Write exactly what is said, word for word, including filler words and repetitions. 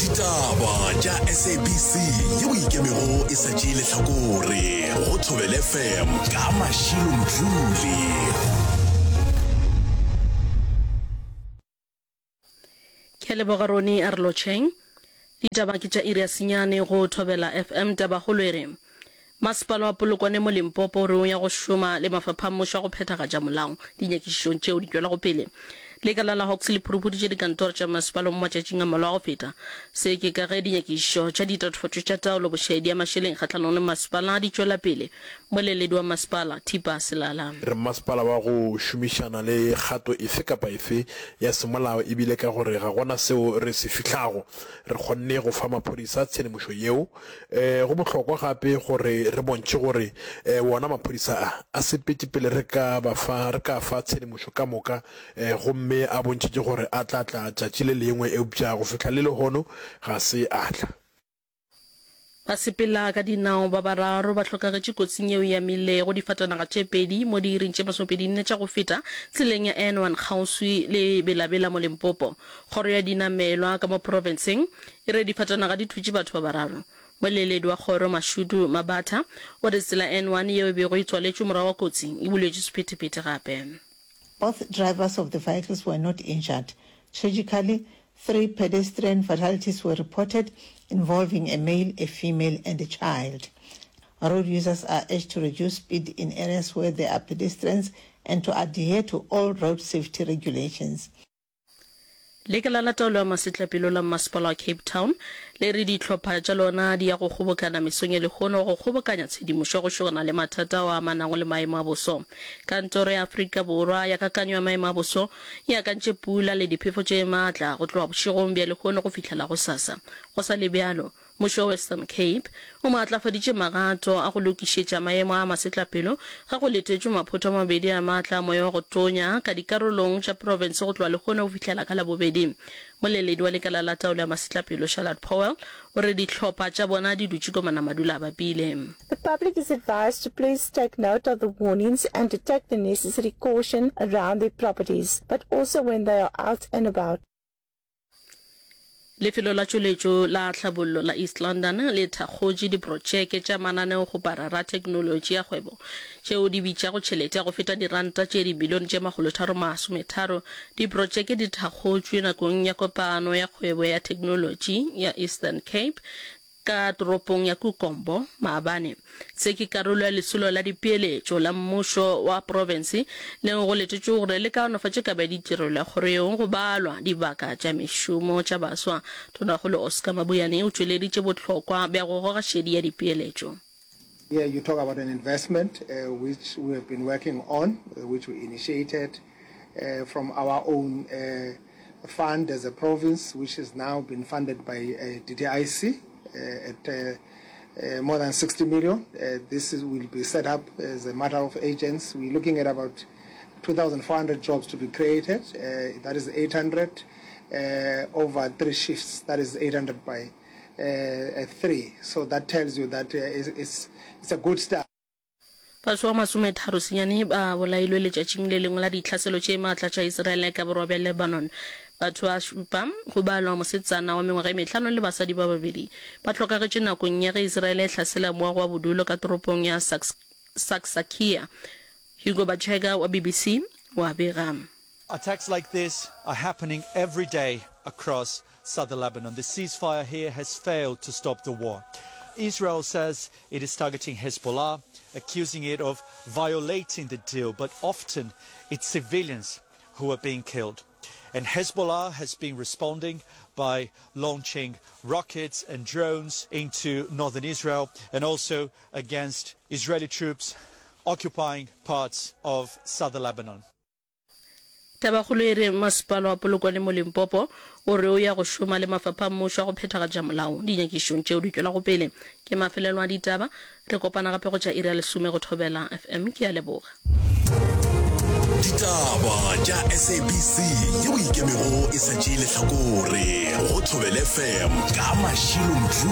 Ditaba tša S A B C yeo ikemego e sa tšee lehlakore go Thobela F M ka Mashilo Mdluli. Ke a leboga Roni, a re lotšheng. Ditaba ke tša iri ya senyane go Thobela F M. Tabakgolo e re Masepala wa Polokwane mo Limpopo o re o ya go šoma le mafapha a mmušo a go phethagatša molao dinyakišišong tšeo di tšwelago pele. Lekala la Hawks le phuruphuditše dikantoro tša masepala mo matšatšing a mmalwa a go feta. Se ke ka ge dinyakišišo tša ditatofatšo tša taolo bošaedi ya mašeleng kgahlanong le masepala di tšwela pele. Mmoleledi wa masepala, Thipa Selala. Re mmasepala wa go šomišana le kgato efe kapa efe ya semolao ebile ka gore ga gona seo re se fihlago, re kgonne go fa maphodisa tshedimošo yeo. Go bohlokwa gape gore re bontšhe gore wona maphodisa a a sepetše pele re ka ba fa re ka fa tshedimošo ka moka gomme a bontšhitše gore a tla tla tšatši le lengwe eupša go fihla le lehono ga se a tla. Basepela ka dinao ba bararo ba hlokagetše kotsing yeo e amilego difatanaga tše pedi mo diiring tše masomepedi nne tša go feta tseleng ya N one kgauswi le Bela-Bela mo Limpopo. Kgoro ya dinamelwa ka mo profenseng e re difatanaga di thutše batho ba bararo. Moleledi wa kgoro Mashudu Mabatha o re tsela N one yeo e bego e tswaletšwe morago ga kotsi e buletšwe sephethephethe gape. Both drivers of the vehicles were not injured. Tragically, three pedestrian fatalities were reported involving a male, a female and a child. Road users are urged to reduce speed in areas where there are pedestrians and to adhere to all road safety regulations. Lekala la Taolo ya Masetlapelo la Mmasepala wa Cape Town le re dihlopha tša lona di ya go kgobokana mesong ya lehono go kgobokanya tshedimošo go šogana le mathata ao a amanago le maemo a boso. Kantoro ya Afrika Borwa ya Kakanyo ya Maemo a Boso e akantše pula le diphefo tše matla go tloga bošegong bja lehono go fihlela gosasa. Go sa le bjalo, Mmušo wa Western Cape o maatlafaditše magato a go lokišetša maemo a masetlapelo ge go letetšwe maphoto a mabedi a maatla a moya wa go tonya ka dikarolong tša profense go tloga lehono go fihlela ka Labobedi. Moleledi wa lekala la taolo ya masetlapelo Charlotte Powell o re dihlopha tša bona di dutše komana madula a bapile. The public is advised to please take note of the warnings and to take the necessary caution around their properties, but also when they are out and about. Lefelo la Tšweletšo la Tlhabollo la East London le thakgotše diprotšeke tša mananeokgoparara a theknolotši ya kgwebo tšeo di bitšago tšhelete ya go feta diranta tše dibilione tše makgolotharo masometharo. Diprotšeke di thakgotšwe nakong ya kopano ya kgwebo ya theknolotši ya Eastern Cape ka toropong ya Kukombo maabane. Se ke karolo ya lesolo la dipeeletšo la mmušo wa profense leo go letetšwego gore le kaonafatše kabo ya ditirelo ya kgoro yeo go balwa dibaka tša mešomo tša baswa. Tonakgolo Oscar Mabuyane o tšweleditše bohlokwa bja go goga šedi ya dipeeletšo. Here you talk about an investment uh, which we have been working on, uh, which we initiated uh, from our own uh, fund as a province, which has now been funded by uh, D D I C uh, at uh, uh, more than sixty million. Uh, this is, will be set up as a matter of agents. We're looking at about two thousand four hundred jobs to be created. Uh, that is eight hundred uh, over three shifts. That is eight hundred by uh, three. So that tells you that uh, it's, it's, it's a good start. Batho ba masometharo senyane ba bolailwe letšatšing le lengwe la ditlhaselo tše maatla tša Israele ka borwa bja Lebanon. Batho ba šupa, go balwa mosetsana wa mengwaga e mehlano le basadi ba babedi, ba hlokagetše nakong ya ge Israele e hlasela moago wa bodulo ka toropong ya Saksakia. Hugo Bachega wa B B C wa bega. Attacks like this are happening every day across southern Lebanon. The ceasefire here has failed to stop the war. Israel says it is targeting Hezbollah, accusing it of violating the deal, but often it's civilians who are being killed. And Hezbollah has been responding by launching rockets and drones into northern Israel and also against Israeli troops occupying parts of southern Lebanon. Tabakgolo e re masepala wa Polokwane mo Limpopo o re o ya go šoma le mafapha a mmušo a go phethagatša molao dinyakišišong tšeo di tšwelago pele. Ke mafelelo a ditaba. Re kopana gape go tša iri ya lesome go Thobela F M. Ke a leboga. Ditaba tša S A B C yeo ikemego e sa tšee lehlakore go Thobela F M ka Mashilo Mdluli.